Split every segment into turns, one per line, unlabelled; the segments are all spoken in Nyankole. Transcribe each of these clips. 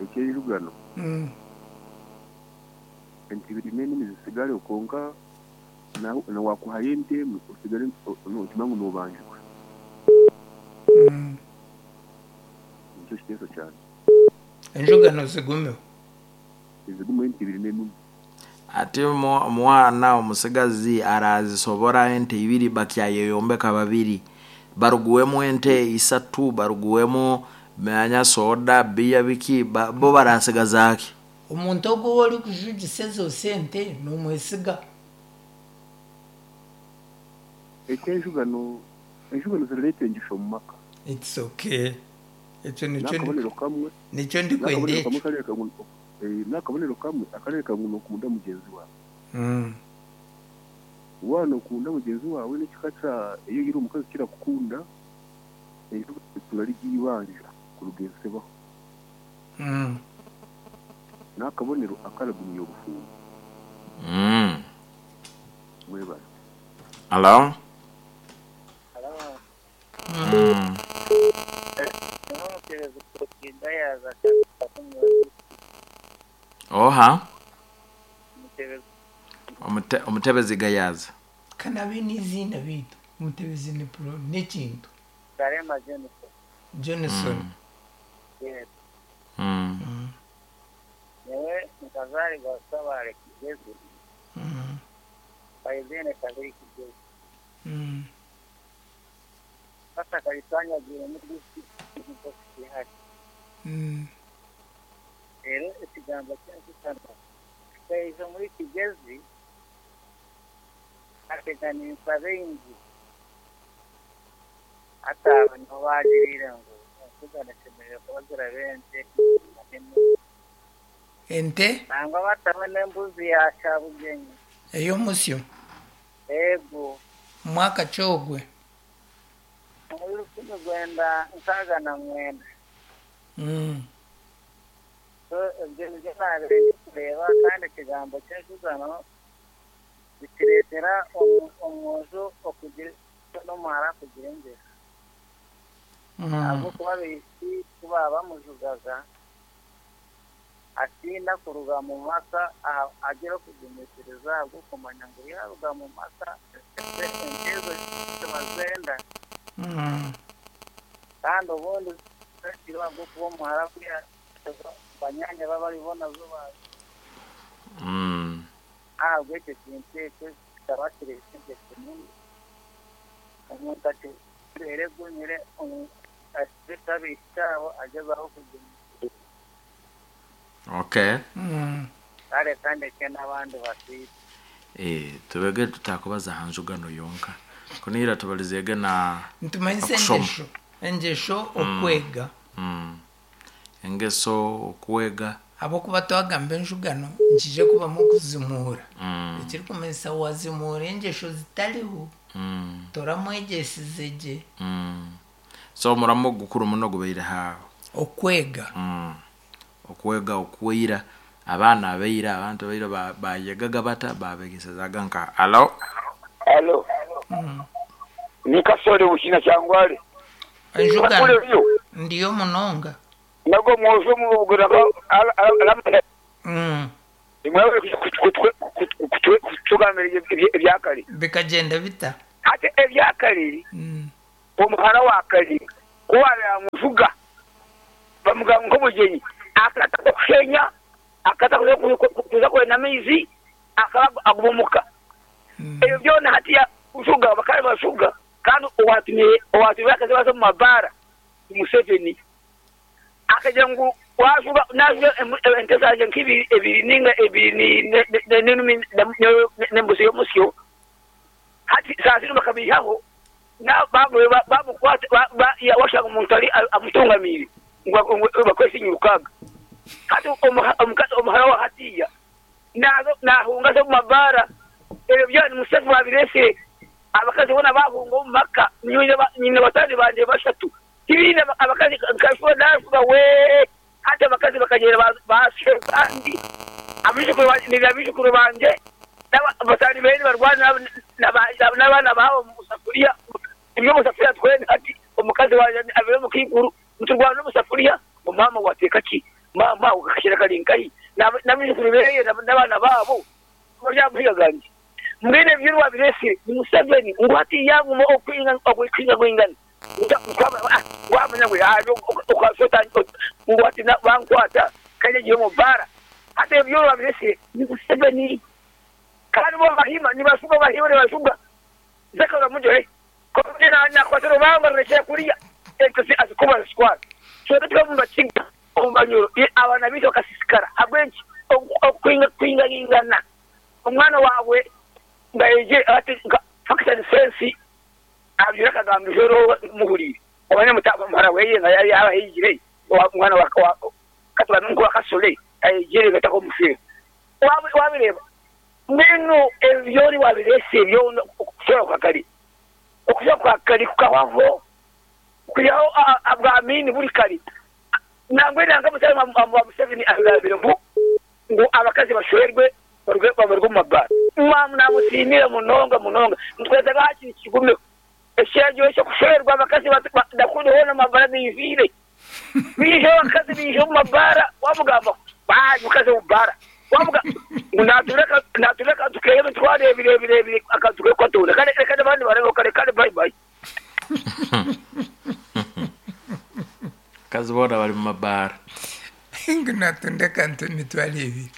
Eky'enjugano, ente ibiri n'enimi zitsigareho, kwonka na waakuhayo ente emwe otsigare nookimanya ngu noobanjibwa. Nikyo kiteeso kyangye.
Enjugano zigumeho.
Zigumeho ente ibiri n'enimi.
Ati omwana omutsigazi araazisobora ente ibiri bakyayeyombeka babiri. Baruguwemu ente isatu, baruguwemu manya soda, biya biki, bo barasigaza ki?
Omuntu ogwo ou orikujugisa ezo sente nomwesiga?
Eky'enjugano, enjugano zirareeta engisho omu maka.
It's okay. Ekyo nikyo
N'akabonero kamwe,
nikyo ndikwenda
n'akabonero kamwe
ekyo.
akareebeka ngu N'akabonero kamwe akareebeka ngu nookunda mugyenzi waawe. Waaba nookunda mugyenzi waawe n'ekika kya ei oine omukazi kirakukunda, eryo eitunga ry'eibanja kuruga ensi ebaho. N'akabonero akaragumya obufumbo. Mwebare.
Halo. Oha? Omutebezi Gayaza.
Ka nabe n'eiziina beitu Omutebezi ni pro n'ekintu. Johnson.
Reero ekigambo ky'enshutano kikaija omuri Kigezi, kaateganisa baingi. Hati abo nibo baagiriire ngu enshugano eshemereire kuba ziraba ente n'embuzi.
Ente?
Nangwa bataho n'embuzi ya Kyabugyenyi.
Ey'omusyo?
Eego.
Mwaka ki ogwe?
Omuri 1969. So ebyo nibyo naabaire ndikureeba kandi ekigambo ky'enjugano nikireetera omwojo okugira engeso n'omuhara kugira engeso. Ahabw'okuba abaishiki ku baaba bamujugaga, atiina kuruga mu maka agira okugumisiriza ahabw'okumanya ngu yaaruga mu maka ente ezo tibazenda. Kandi obundi ahabw'okuba omuhara ku yaaza banyaanya be abari bo nazo baaza. Ahabw'ekyo ekintu ekyo kikaba kireeta engeso nyingi. Omuntu akira egumire akireka abaishiki abo agyezaho kugumisiriza.
Okay.
Kare kandeke n'abandi basiime.
Eh, tubege tutakubaza aha njugano yonka. Kunihira tubalizeege na
Nitumanyisa
okushoma.
engyesho. Engyesho okwega.
Engeso, okwega.
Ahabw'okuba twagamba enjugano nikiija kubamu okuzimuura. Ekirikumanyisa waazimuura engyesho zitariho, toramwegyesize gye.
So omuramo ogukuru muno gubaire ha.
Okwega.
Okwega okweira, abaana abaira, abantu abaira bayegaga bata, babegesezaga nkaha? Halo.
Halo. Ni Kasole Buhina Kyangwale.
Enjugano.
Kule yo.
Ndiyo munonga.
Nago mwojo mubugura aramanya. Nimwebale kutugambira ebyakare.
Bikagyenda bita?
Hati ebyakare Omuhara wa Kali ku baabaire bamujuga bamugamba nk'omugyenyi, akata kushenya, akata kuza kwenda amaizi, akaba aguma omuka. Ebyo byona hatiiya kujuga bakaba nibajuga kandi owaatumire abakazi baza omu mabaara ni Museveni. Akagira ngu waajuga naajuga ente zangye nk'ibiri ebiri nainga ebiri n'embuzi y'omusyo, hati saaha zinu bakabaihaho. Baamukwata washanga omuntu ari amutungamiire ngu bakwese nyarukaga. Hati omuhara wa hatiiya naahunga aza omu mabaara. Ebyo byona ni Museveni waabireetsire. Abakazi boona baahunga omu maka. Nyine bataani bangye bashatu tibaine abakazi nka naajuga wee. Hati abakazi bakagyenda baashwera abandi. Abaijukuru bangye n'abataani beene nibarwana n'abaana baabo omu safuriya. Turi omu safuriya twena hati. Omukazi wangye abaire omukaikuru niturwana omu safuriya ngu maama waateeka ki? Maama ako kakashera kari nkahi? N'abaijukuru beye n'abaana baabo bari aha mahega gangye. Mbwenu ebyo ebi waabireetsire ni Museveni ngu hati yaaguma okwingangwingana wamanya ngu ngu hati bankwata kandi agiire omu baara. Hati ebyo ebi waabireetsire ni Museveni. Kandi bo Abahima nibashuga, Abahima nibashuga. Zaka Rwamujore Kwonka nakwata orubamba rurekyera kuriya ente azikuba azitwara. Twebwe tukaba omu Bakiga omu Banyoro abaana baitu bakasiisikara ahabw'enki? Okwingaingana. Omwana waawe ngu ayegye ati nka Facts and Sense abyire akagamba eizooba muhuriire omanye muhara weye nga yaaba ayegire omwana wa katugambe nka owa Kasule ayegire ngu atakomushwera. Wabireeba Mbwenu ebyo ori waabireetsire byona okushwera kwa kare, okushwera kwa kare kukahwaho, kwihaho ahabwa Amiini buri kare. Nangwa nanka Museveni wa Museveni agambire ngu ngu abakazi bashwerwe baruge baruge omu mabaara. Mwamu namusiimire munonga munonga. Nitwetaaga hakiri kigumeho. Ekiragiro ky'okushwerwa abakazi ndakunda hoona amabaara gaijwire. Baija abakazi baija omu mabaara wamugambaho baayi mukazi omu baara wamuga ngu natura natura akantu keye emitwaro ebiri ebiri ebiri akantu keye kukatunda kare reka n'abandi barabeho kare kare bayi bayi.
Abakazi boona bari mu mabaara.
Ngu natunda akantu emitwaro ebiri.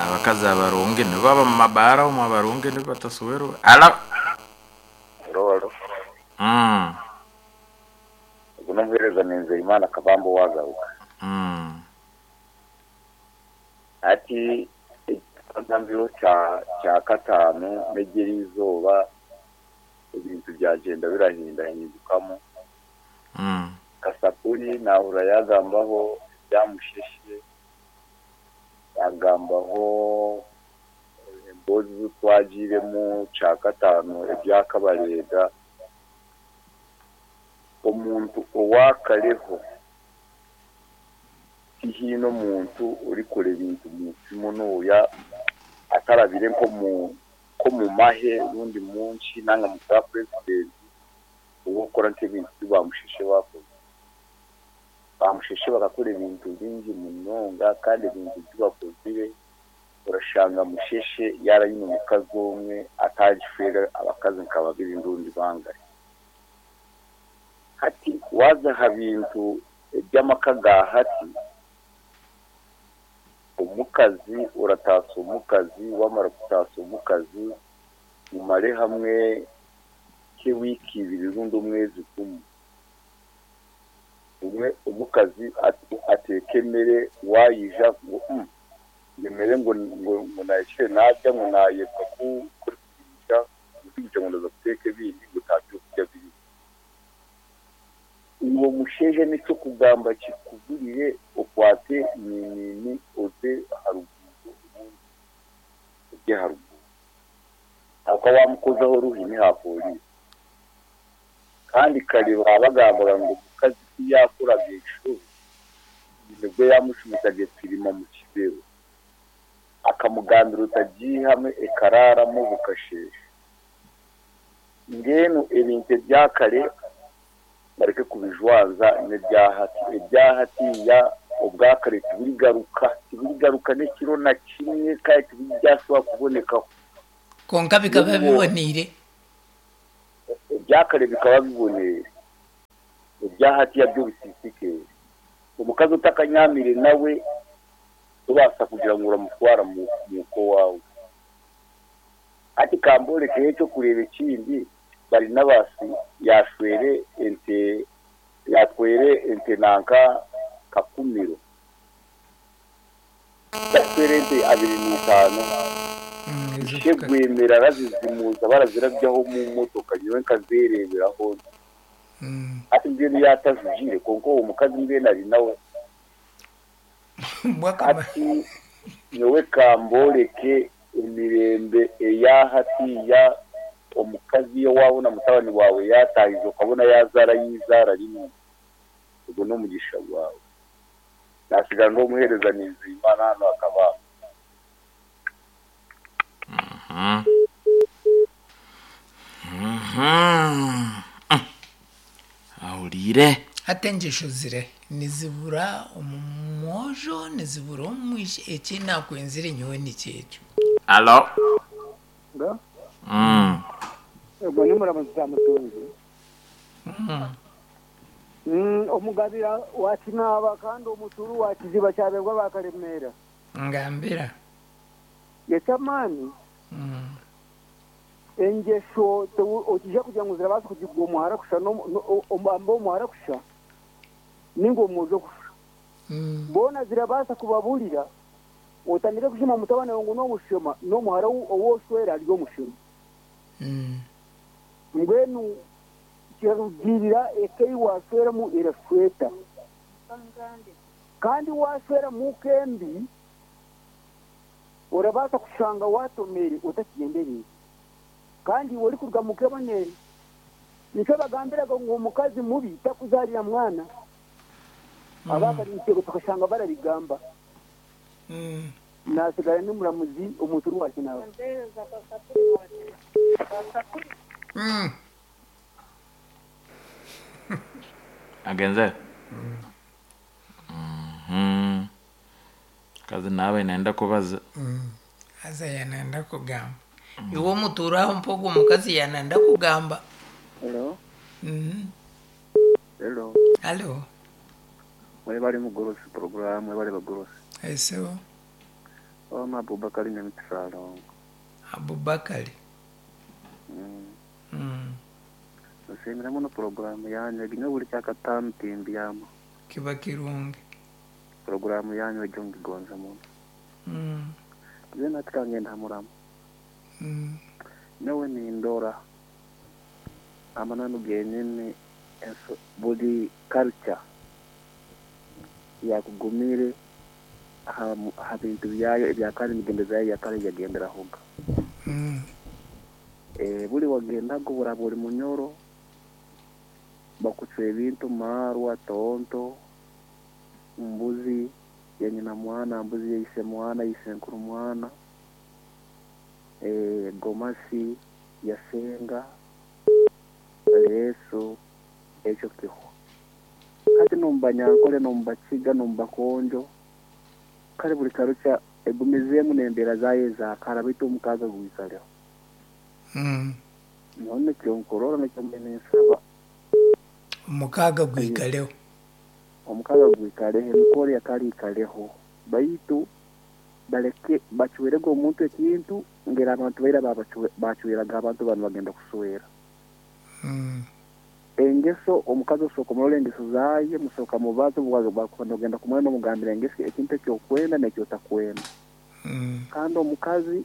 Abakazi abarungi nibo baba mu mabaara omwo abarungi nibo bataswerwa. Alo.
Haro haro. Ogu n'omuheereza ni Nzeyimana Kabamba owaagaruka. Hati ekigambiro kya kataano n'ery'erizooba ebintu byagyenda birahindahindukamu. Kasapuri naahurira yaagambaho ebya Musheshe, yaagambaho emboozi ezi twagiiremu kyakataano ebya Kabareega. Omuntu owaakareho tihaine omuntu orikora ebintu munsi munuuya atarabire nk'omu mahe rundi munki nanga mu bwa purezidenti ow'okukora nk'ebintu bi ba Musheshe baakozire. Ba Musheshe bakakora ebintu bingi munonga kandi ebintu bi bakozire orashanga Musheshe yaaba aine omukazi omwe atagishwera abakazi nka babiri rundi bangahi. Hati waaza aha bintu eby'amaka ga hati, omukazi orataasa omukazi, waamara kutaasa omukazi mumare hamwe nk'ewiiki ibiri rundi omwezi gumwe. Obumwe omukazi ateeka emere waayija ngu emere ngu naahikire naarya ngu naayebwa kugiija ngu ndaza kuteeka ebindi ngu nta by'okurya biriho. Iwe omushaija n'eky'okugamba kikugurire okwate ninini oze aha ruguuto obundi orye aha ruguuto. Ahabw'okuba waamukozaho oruhi ni aha pooriisi. Kandi kare baabagambaga ngu omukazi ku yaakoraga enshobe, nibwo yaamucumitaga epirima mu kibero akamugambira otagiihamu ekaraaramu bukasheesha. Mbwenu ebintu ebya kare bareke kubijwanza n'ebya hati. Ebya hatiiya obwa kare tibirigaruka, tibirigaruka n'ekiro na kimwe kandi tibiryaashobora kubonekaho.
Kwonka bikaba biboneire.
Ebya kare bikaba biboneire, ebya hatiiya byo bisiisikaire. Omukazi otakanyaamire nawe tobaasa kugira ngu oramutwara muuka owaawe. Hati ka mboorekeho eky'okureeba ekindi, Barinabasi yaashwera ente, yaatwera ente nanka kakumiro. Yaatwera ente abiri na itaano. Ishe Gwemera arazizimuuza barazirabyaho omu motoka nyowe nkazeereeberaho nti. Hati mbwenu yaatajugiire kwonka ogwo mukazi mbwenu ari nawe. Hati nyowe ka mbooreke emirembe eya hatiiya, omukazi owaabona mutabani waawe yaataahize okabona yaazaarayo eizaara rimwe, ogwo n'omugisha gwawe. Naatsigara ndi omuheereza Ninziimana hanu aha Kabamba.
Ahuriire.
Hati engyesho zirihe? Nizibura omu mwojo, nizibura omu mwishiki, eki nakwenzire nyowe nikyo ekyo.
Alo.
Nga
Mm.
Ogwo ni muramuzi Mutunzi. Omugabira wa Kinaaba kandi omuturu wa Kiziba kyaberwa ba Karemera.
Ngambira.
Eky'amaani engyesho okija kugira ngu zirabaasa kugigwa omuhara kusha amba omuhara kusha ninga omwojo kusha. Boona zirabaasa kubaburira otandike kushema mutabani wawe ngu n'omushema n'omuhara owoshwera ari omushema. Mbwenu kirarugirira eka ei washweramu erashweta. Kandi washwera muka embi orabaasa kushanga watomere otakigyendereire. Kandi iwe orikuruga muka ebonere. Nikyo bagambiraga ngu omukazi mubi takuzaarira mwana. Abakare tukashanga barabigamba. Nasigara ni muramuzi omuturu wa Kinaaba.
Agenze. Kazi nawe inaenda kubaza.
Haza yanenda kugamba. Iwe omutuura aho mpa ogwo omukazi yanenda kugamba.
Hello. Hello.
Halo.
Mwebale mugorosi program, mwebale bagorosi.
Esewo.
Oma Abubakari Nyamitsalongo.
Abubakari.
Nsiimira muno programu yanyu egyo buli kyakataano timbyama.
Kiba kirungi.
Programu yanyu egyo ngigonza muno. Nze nati kangenda muramu. Nawe nindora amananu genyini buli culture yakugumire aha bintu byayo ebyakare emigendo zayo yakare yagenderahoga. Buli wagendaga buraba ori munyoro bakucwa ebintu marwa tonto mbuzi ya nyina mwana mbuzi ya ise mwana ise nkuru mwana gomasi yasenga leso ekyo kiho. Hati nombanyankole nombakiga nombakonjo kale buli karucha egumizeemu n'embeera zayo ezakara baitu omukaga gwikaleho. None kyonkorora nekyo mbene nsaba
omukaga gwikaleho.
Omukaga gwikaleho emikoro yakali ikaleho baitu baleke bacwerega omuntu ekintu ngera abantu baira bacweraga abantu banu bagenda kuswera. Engeso omukazi osooka omurora engeso zaye musooka mubaze bakubona ogenda kumwena omugambira engeso ekintu ekyokwenda n'ekyotakwenda. Kandi omukazi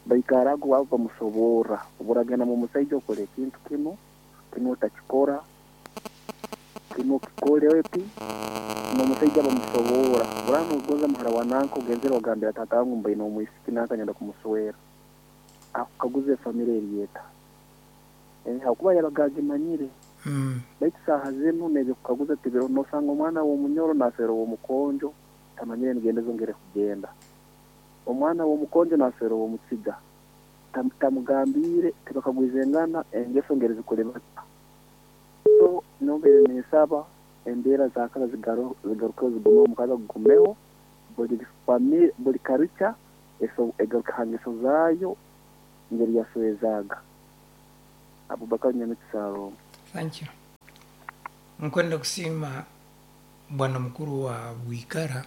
baikarago wabo bamusoborra oburagenda mu musaija okora ekintu kino kino otakikora kino kikore epi n'omusaija bamusoborra burano ogonza muhara wa nanka ogenzera ogambira tata wangu mbaine omwisiki nanka nyenda kumuswera akukaguza efamire eriyeta hakuba yabaga agimanyire. Baitu saaha zinu n'ebyokukaguza tibiro nosanga omwana w'omunyoro naswera ow'omukonjo tamanyire emigendo zongere kugenda. Omwana w'omukonjo naswera ow'omukiga tamugambire tibakagwiza engana engeso ngeri zikore bata. So nombere nesaba embeera zakara zigarukeho zigumeho omukazi agugumeho buli famire buli karucha egaruka ha ngeso zaayo ngeri yaswezaga. Abubakar Nyamitsalongo.
Thank you. Nkwenda kusiima bwana mukuru wa Bwikara.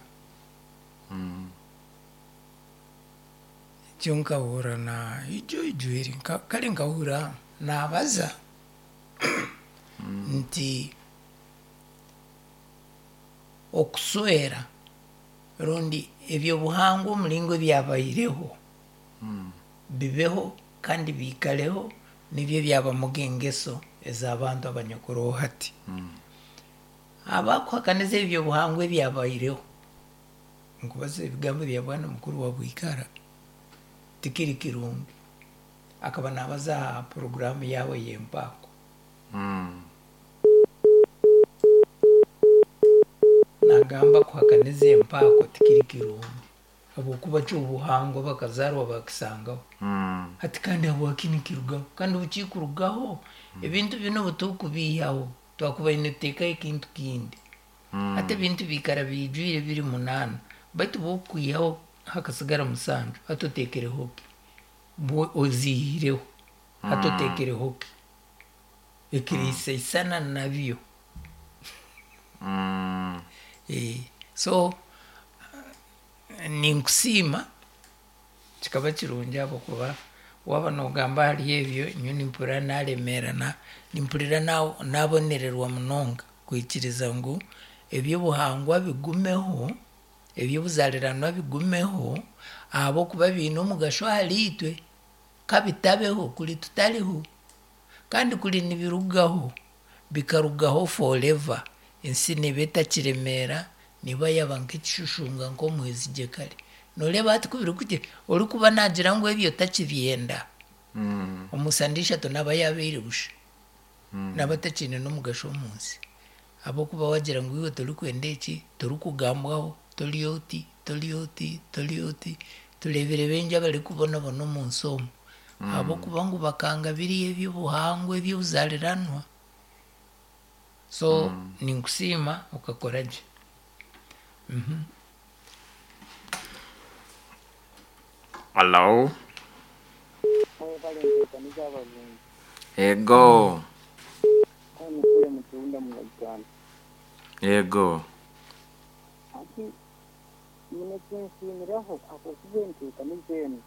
Ekyo nkahura na ijo ijwiri kale nkahura nabaza nti okuswera rundi ebyobuhangwa omulingo byabaireho bibeho kandi biikaleho nibyo byabamuga engeso ez'abantu abanyakuraho hati. Abakuhakaniza ebyobuhangwa ebyabaireho nkubaza ebigambo bya bwana mukuru wa Bwikara tikiri kirungi. Akaba nabaza aha programu yawe y'empaako. Nagamba kuhakaniza empaako tikiri kirungi habwokuba ky'obuhangwa bakazarwa bakisangaho. Hati kandi habwaki nikirugaho kandi bukikurugaho ebintu bino butukubiihaho Twakubaire nituteekaho ekintu kindi. Hati ebintu biikara biijwire biri munaana, baitu bw'okwihaho hakasigara musanju, hati oteekereho ki? Bwo oziihireho, hati oteekereho ki? Ekiriisaisana nabyo. So ninkusiima, kikaba kirungi ahabw'okuba waaba noogamba ahari ebyo, nyowe nimpurira naaremeerana, nimpurira naabonererwa munonga kwikiriza ngu eby'obuhangwa bigumeho, eby'obuzaariranwa bigumeho, ahabw'okuba biine omugasho ahariitwe, ka bitabeho kuri tutariho, kandi kuri nibirugaho, bikarugaho forever, ensi neeba etakiremeera, neeba yaaba nk'ekishushunga nk'omwezigye kare. Nooreeba hati ku birikugira, orikuba naagira ngu ebyo takibyenda, omu sande ishatu naaba yaabaire busha, naaba atakiine n'omugasho omu nsi. Ahabw'okuba waagira ngu iwe torikwenda eki, torikugambwaho, tori oti, tori oti, tori oti, tureebire baingi abarikubonabona omu nsi omu, ahabw'okuba ngu bakanga biriya eby'obuhangwa eby'obuzaariranwa. So ninkusiima okakora gye.
Hallo.
Mwebale nteekaniza abarungi.
Ego.
Kandi kule mutunda muna Uganda.
Ego.
Hati nyine ekinsiimiraho ahabw'okuba enteekaniza enu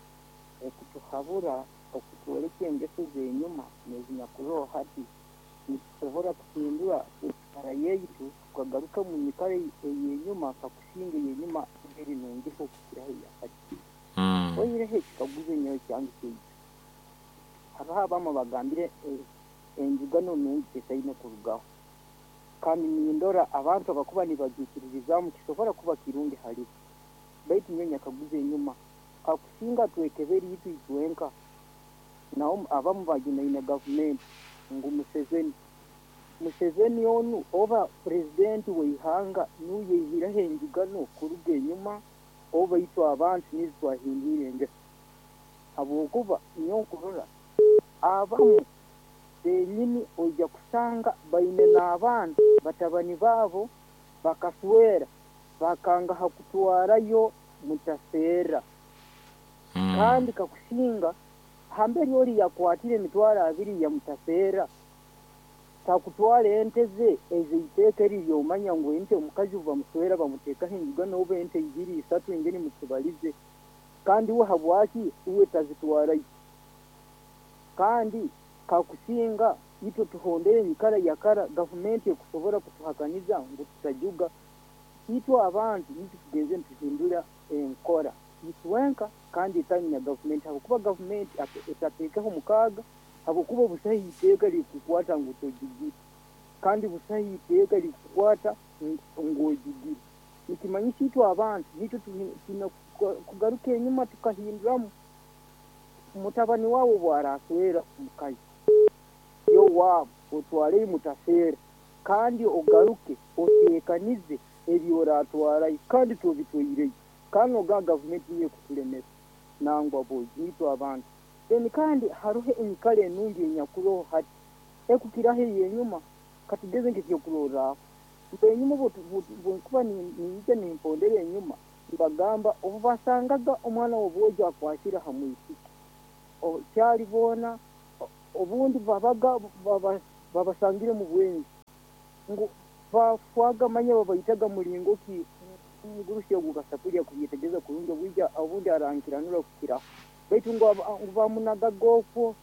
ekutuhabura okutworeka engeso ez'enyuma n'ezinyakuroho hati, nitusobora kuhindura enyikara yaitu tukagaruka omu nyikara ey'enyuma kakusinga ey'enyuma eri nungiho kukiraho eya hati. Oihireho ekikaguzo nyowe kyange kyaija, haroho abamu abagambire enjugano nungi tesaine kurugaho. Kandi nindora abantu abakuba nibagiikiririzaamu kisobora kuba kirungi halibo. Baitu nyowe nyakaguza enyuma, kakusinga twekebere itwe itwenka, naho abamu bajunaine gavumenti ngu Museveni. Museveni onu oba purezidenti w'eihanga nuwe yaihireho enjugano kuruga enyuma oba itwe abantu niitwe twahindwire engeso? Habwokuba nyowe nkurora abamu benyini oija kusanga baine n'abaana batabani baabo bakaswera bakanga ha kutwarayo mutaseera. Kandi kakusinga hamberi ori yakwatire emitwaro abiri ya mutaseera takutwara ente ze ez'eiteeka eri ry'omanya ngu ente omukazi obu bamuswera bamuteekaho enjugano oba ente ibiri isatu engeri mukibalize. Kandi uwe habwaki uwe tazitwarayo? Kandi kakusinga itwe tuhondere enyikara ya kara gavumenti ekusobora kutuhakaniza ngu tutajuga. Itwe abantu nitwe tugenze nituhindura enkora itwenka kandi etali na gavumenti habwokuba gavumenti etateekeho mukaaga habwokuba busaho iteeka erikukwata ngu tojugire kandi busaho iteeka erikukwata ngu ojugire. Nikimanyisa itwe abantu nitwe twine kugaruka enyuma tukahinduramu. Mutabani waawe obu araaswera omukazi y'owaabo otwareyo mutaseera kandi ogaruke oteekanize ebi oraatwarayo kandi tobitwaireyo. Kandi nogamba gavumenti niyo ekukulemesa nangwa boi nitwe abantu. Then kandi haroho enyikara enungi enyakuroho hati ekukiraho ey'enyuma. Katugeze nk'ekyokurorraho, enyuma obu nkuba ninyija nimpondera enyuma nibagamba obu basangaga omwana w'obwojo akwasire ha mwisiki kyali boona obundi babaga babasangire mu bwenzi ngu bafwaga manya babaitaga mulingo ki omugurusi ogu kasapuli akubyetegereza kurungi obwija obundi arankiranura kukiraho baitu ngu bamunagaga okwo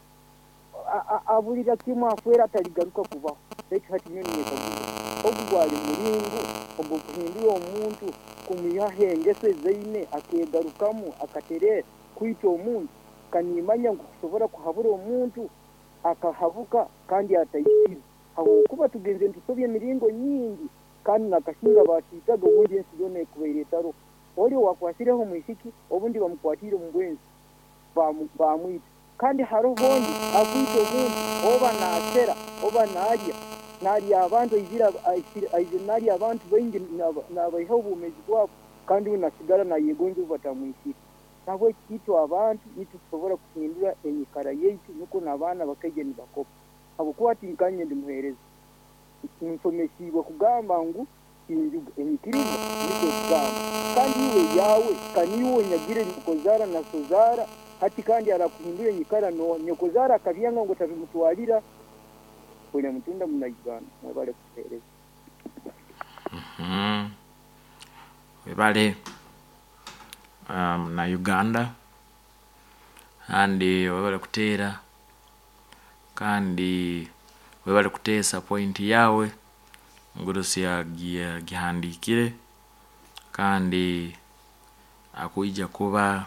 aburira kimwe afwera ataligaruka kubaho. Baitu hati nyowe ninyekaguza ogu gwali mulingo ogw'okuhindura omuntu kumwihaho engeso ezaine akeegarukamu akatereera kwita omuntu. Kanimanya ngu kusobora kuhabura omuntu akahabuka kandi ataisire habwokuba tugenze nitusobya emiringo nyingi kandi nakasinga batwitaga obundi ensi yoona ekubaire etaroho. Oli owakwasireho omwisiki obundi bamukwatiire omu bwenzi bamwita. Kandi haroho ondi akwita omuntu oba naasera oba naalya naalya abantu aizire naalya abantu baingi naabaihaho obwomeezi bwabo kandi uwe nasigara naayegonza obu batamwisire. Nahabweki itwe abantu nitwe tusobora kuhindura enyikara yaitu nukwo n'abaana bakaija nibakopa. Habwokuba hati nkanye ndi muheereza.
Nsomesiibwe kugamba ngu tinjuga. Enyikiriza nikwo ekugamba. Kandi iwe eyaawe, ka niiwe onyagire nyokozaara na sozaara, hati kandi arakuhindura enyikara nooha? Nyokozaara akabyanga ngu otabimutwarira. William Mutunda muna Uganda. Mwebale kutuheereza.
Webale na Uganda kandi webale kuteera kandi webale kuteesa point yaawe Ngurusi agihandiikire kandi akwija kuba.